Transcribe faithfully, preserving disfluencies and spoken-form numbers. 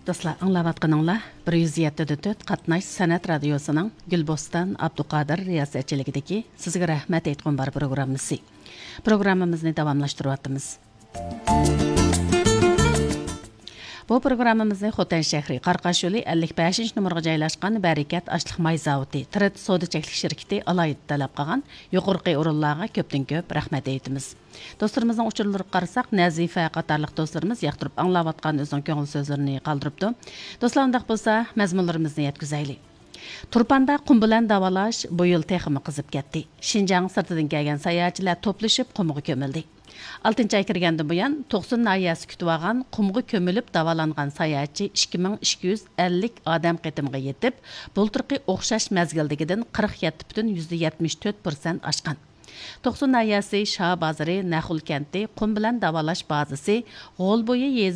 دوستلار، ئاڭلاۋاتقىنىڭلار بىر يۈز يەتتە دە تۆت قاتناش سەنئەت رادىيوسىنىڭ گۈلبوستان ئابدۇقادىر رىياسەتچىلىكىدىكى سىزگە رەھمەت ئېيتقۇم بار پروگراممىسى. پروگراممىمىزنى داۋاملاشتۇرۇۋاتىمىز. بۇ پروگراممىمىزنى خوتەن شەھىرى قاراقاش يولى ئەللىك بەشىنچى نومۇرغا جايلاشقان بەرىكەت ئاشلىق ماي زاۋۇتى، تىرىت سودا چەكلىك شىركىتى ئالاھىدە تەلەپ قىلغان يۇقىرىقى ئورۇنلارغا كۆپتىن كۆپ رەھمەت ئېيتىمىز. دوستلىرىمىزنىڭ ئۇچۇرلىرىغا قارىساق، نەزىفە قاتارلىق دوستلىرىمىز ياقتۇرۇپ ئاڭلاۋاتقان ئۆزىنىڭ كۆڭۈل سۆزلىرىنى قالدۇرۇپتۇ. دوستلار، ئۇنداق بولسا، مەزمۇنلىرىمىزنى يەتكۈزەيلى. تۇرپاندا قۇم بىلەن داۋالاش بۇ يىل تېخىمۇ قىزىپ كەتتى. شىنجاڭ سىرتىدىن كەلگەن ساياھەتچىلەر توپلىشىپ قۇمغا كۆمۈلدى. ئالتىنچى ئاي كىرگەندىن بۇيان، توقسۇن ناھىيەسى كۈتۈۋالغان قۇمغا كۆمۈلۈپ داۋالانغان ساياھەتچى ئىككى مىڭ ئىككى يۈز ئەللىك ئادەم قېتىمغا يېتىپ، بۇلتۇرقى ئوخشاش مەزگىلدىكىدىن قىرىق يەتتە پۈتۈن يۈزدە يەتمىش تۆت پىرسەنت ئاشقان. توقسۇن ناھىيەسى شاھ بازىرى، نەخۇل كەنتى، قۇم بىلەن داۋالاش بازىسى، غول بويى يېزا